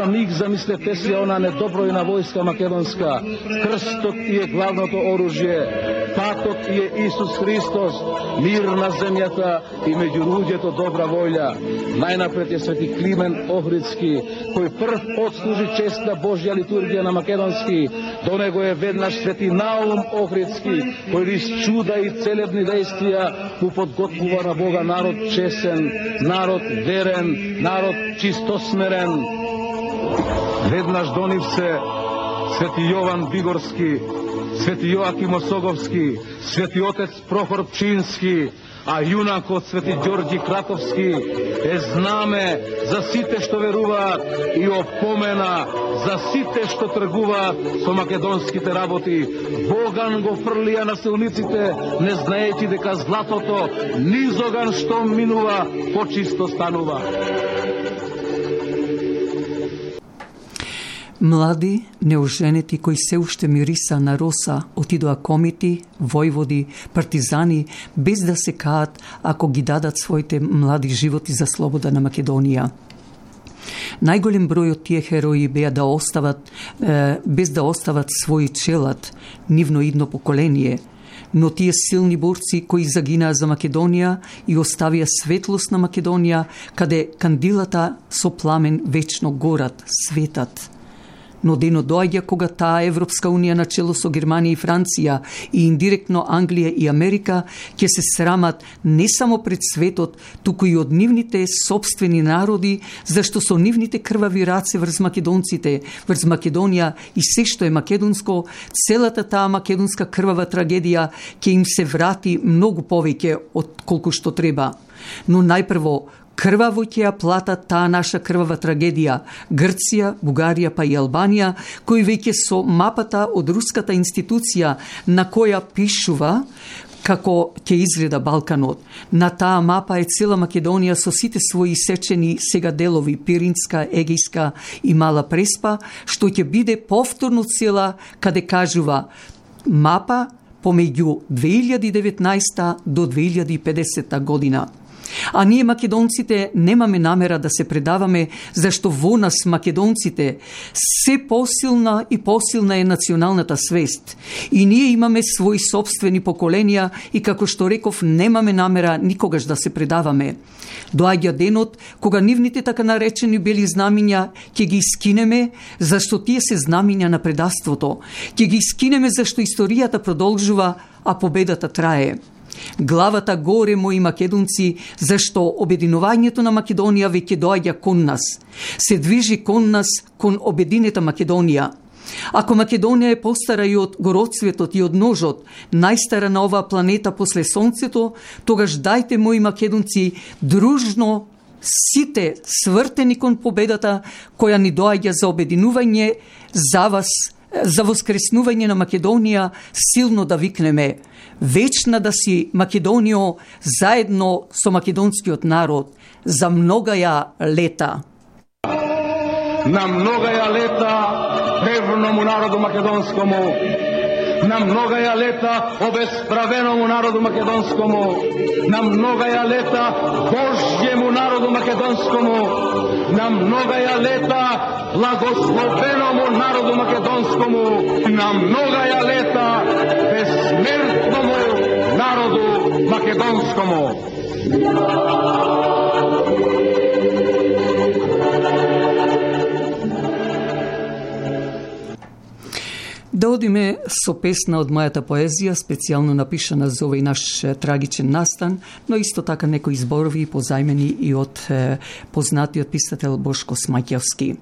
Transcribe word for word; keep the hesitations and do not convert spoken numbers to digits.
за миг замислете си она недобројна војска македонска. Крстот и е главното оружје. Патот и е Исус Христос. Мир на земјата и меѓу луѓето добра воља. Најнапред е свети Климен Охридски, кој прв отслужи честна Божја литургија на македонски. До него е веднаш свети Наум Охридски, кој низ чуда и целебни действија му подготвува на Бога народ чесен, народ верен, народ чистосмерен. Веднаш до нив се свети Јован Бигорски, свети Јоаким Осоговски, свети отец Прохор Пчински, а јунакот свети Ѓорѓи Кратовски е знаме за сите што веруваат и опомена за сите што тргуваат со македонските работи. Боган го фрлија на силниците, не знаејќи дека златото низоган што минува, почисто станува. Млади, неоженети кои се уште мириса на роса, отидоа комити, војводи, партизани, без да се каат ако ги дадат своите млади животи за слобода на Македонија. Најголем број од тие херои беа да остават, е, без да остават свој челад, нивно идно поколение, но тие силни борци кои загинаа за Македонија и оставија светлост на Македонија, каде кандилата со пламен вечно горат, светат. Но денот доаѓа кога таа Европска унија на чело со Германија и Франција и индиректно Англија и Америка ќе се срамат не само пред светот, туку и од нивните собствени народи, зашто со нивните крвави раце врз македонците, врз Македонија и се што е македонско, целата таа македонска крвава трагедија ќе им се врати многу повеќе од колку што треба. Но најпрво крваво ќе ја платат таа наша крвава трагедија Грција, Бугарија па и Албанија, кои веќе со мапата од руската институција на која пишува како ќе изгледа Балканот. На таа мапа е цела Македонија со сите своји сечени сега делови Пиринска, Егејска и Мала Преспа, што ќе биде повторно цела каде кажува мапа помеѓу две илјади и деветнаесета до две илјади и педесета година. А ние македонците немаме намера да се предаваме, зашто во нас македонците се посилна и посилна е националната свест. И ние имаме своји собствени поколенија и како што реков, немаме намера никогаш да се предаваме. Доаѓа денот кога нивните така наречени бели знамиња ќе ги скинеме, зашто тие се знамиња на предавството. Ќе ги скинеме зашто историјата продолжува, а победата трае. Главата горе, мои македонци, зашто обединувањето на Македонија веќе доаѓа кон нас. Се движи кон нас, кон обединета Македонија. Ако Македонија е постара и од гороцветот и од ножот, најстара на оваа планета после Сонцето, тогаш дајте, мои македонци, дружно сите свртени кон победата која ни доаѓа за обединување, за вас, за воскреснување на Македонија, силно да викнеме: вечна да си Македонијо, заедно со македонскиот народ, за многаја лета. На многаја лета древному народу македонскому, на многаја лета обесправеному народу македонскому, на многаја лета Божјему народу македонскому, на многаја лета благословеному народу македонскому, на многаја лета безсмертному народу македонскому. Да одиме со песна од мојата поезија, специјално напишана за овој наш трагичен настан, но исто така некои зборови позајмени и од познатиот писател Бошко Смаќевски.